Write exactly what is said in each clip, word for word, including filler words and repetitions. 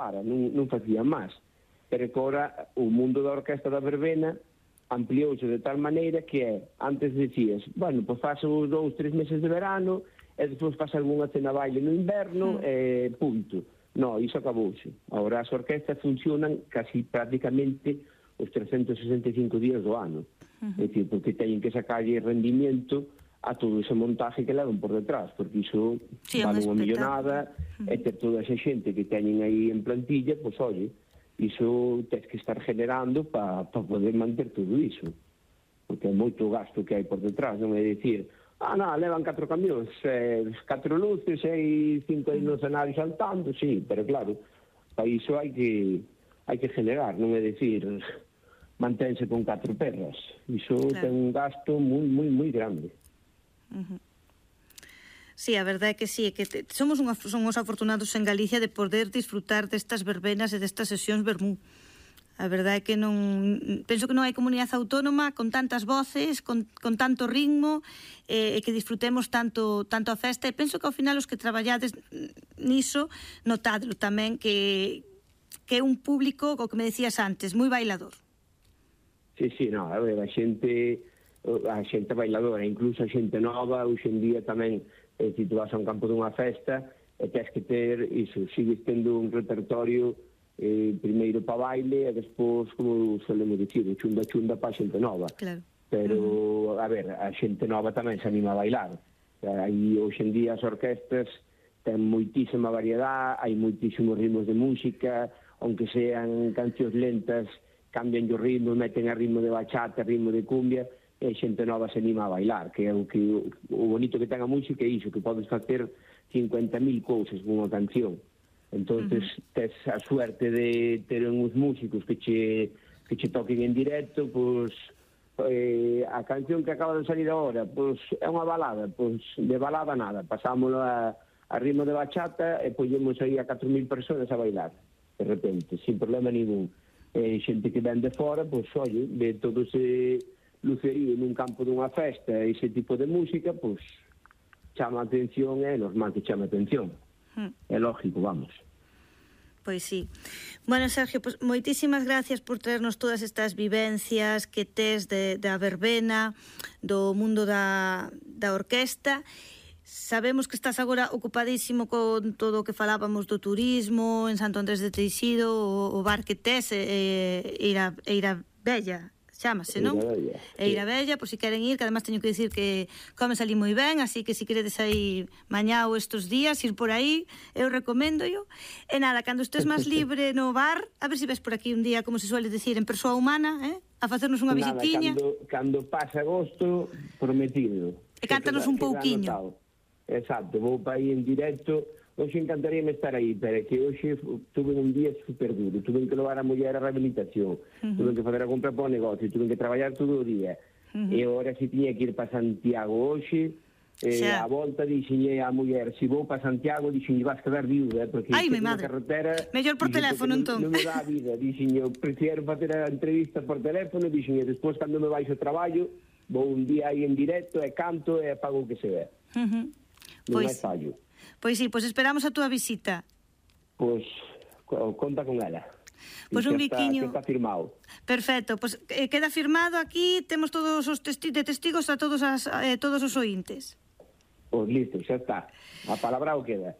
para, non, non facían máis. Pero que agora o mundo da orquesta da verbena ampliouse de tal maneira que é, antes decías, bueno, pois faz os dous, tres meses de verano, e despois faz algunha cena baile no inverno, e punto. No, iso acabouse. Agora as orquestas funcionan casi prácticamente os trescentos sesenta e cinco días do ano. Uh-huh. É dicir, porque teñen que sacarlle rendimiento a todo ese montaje que levan por detrás, porque iso sí, vale unha millonada, uh-huh. e ter toda esa xente que teñen aí en plantilla, pois, oye, iso tens que estar generando para pa poder manter todo iso, porque é moito gasto que hai por detrás, non é dicir, ah, non, levan catro camións, eh, catro luces, e cinco aí no escenario saltando, sí, pero claro, para iso hai que hai que generar, non é dicir, mantense con catro perras, iso claro. Ten un gasto moi, moi, moi grande. Uh-huh. Sí, a verdade é que sí, é que te, somos, unha, somos afortunados en Galicia de poder disfrutar destas verbenas e destas sesións vermú. A verdade é que non penso que non hai comunidade autónoma con tantas voces, con, con tanto ritmo, e eh, que disfrutemos tanto tanto a festa, e penso que ao final os que traballades niso notadlo tamén que que é un público, o que me decías antes, moi bailador. Sí, sí, no, a ver, a xente a xente bailadora, incluso a xente nova, hoxe en día tamén, eh, se tu vas a un campo dunha festa, e tens que ter iso, sigues tendo un repertorio eh, primeiro pa baile, e despois, como solemos dicir, chunda chunda pa xente nova. Claro. Pero, uh-huh. a ver, a xente nova tamén se anima a bailar. Aí, hoxe en día, as orquestas ten moitísima variedade, hai moitísimos ritmos de música, aunque sean cancións lentas, cambian o ritmo, meten a ritmo de bachata, ritmo de cumbia, e xente nova se anima a bailar, que é o que o bonito que ten a música é iso, que podes facer cincuenta mil cousas con unha canción. Entonces, uh-huh. tes a suerte de ter uns músicos que che, que che toquen en directo, pois, eh, a canción que acaba de salir agora, pois, é unha balada, pois, de balada nada, pasámoslo a, a ritmo de bachata e poñemos aí a catro mil persoas a bailar, de repente, sin problema ningún. E xente que ven de fora, pois, oye, ve todo ese lucerío nun campo dunha festa, ese tipo de música, pois, chama a atención, é normal que chama a atención. Hmm. É lógico, vamos. Pois sí. Bueno, Sergio, pues, moitísimas gracias por traernos todas estas vivencias que tes de, da verbena, do mundo da, da orquesta. Sabemos que estás agora ocupadísimo con todo o que falábamos do turismo en Santo Andrés de Teixido, o, o bar que tes, e, e, Eira, Eira Bella, chámase, non? Eira Bella, por si queren ir, que además teño que dicir que comes ali moi ben, así que si queredes aí mañá ou estes días ir por aí, eu recomendo yo. E nada, cando estés máis libre no bar, a ver se ves por aquí un día, como se suele decir, en persoa humana, eh? A facernos unha visitiña. Nada, cando, cando pase agosto, prometido. E cántanos un pouquiño. Exacto, vou para aí en directo. Hoxe encantaríame estar aí, pero que hoxe tuve un día super duro. Tuve que levar a muller a rehabilitación, uh-huh. tuve que fazer a compra para o negocio, tuve que traballar todo o día. Uh-huh. E agora si tiña que ir para Santiago hoxe, eh, a volta dixenlle a muller, se si vou para Santiago, dixenlle, vas quedar viuda, porque ai, mi madre, carretera, mellor por teléfono, entón. Non me dá a vida, dixenlle, prefiero facer a entrevista por teléfono, dixenlle, despois, cando me vais ao traballo, vou un día aí en directo, e canto, e pago o que se ve. Uh-huh. Non pois, hai fallo. Pois sí, pois esperamos a túa visita. Pois, conta con ela. Pois un biquiño. Está, está firmado. Perfecto, pois eh, queda firmado aquí, temos todos os testi de testigos a todos as eh, todos os ointes. Pois listo, xa está. A palabra o queda.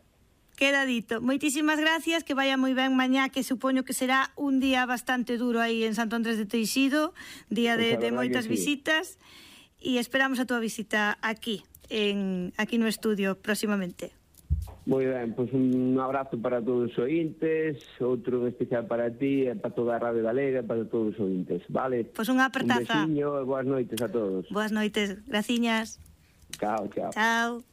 Queda dito. Moitísimas gracias, que vaya moi ben mañá, que supoño que será un día bastante duro aí en Santo Andrés de Teixido, día de, de moitas sí. visitas, e esperamos a túa visita aquí, en aquí no estudio próximamente. Moi ben, pois un abrazo para todos os ointes, outro especial para ti e para toda a Radio Galega, para todos os ointes, vale? Pois unha apertaza. Un besiño e boas noites a todos. Boas noites, graciñas. Chao, chao. Chao.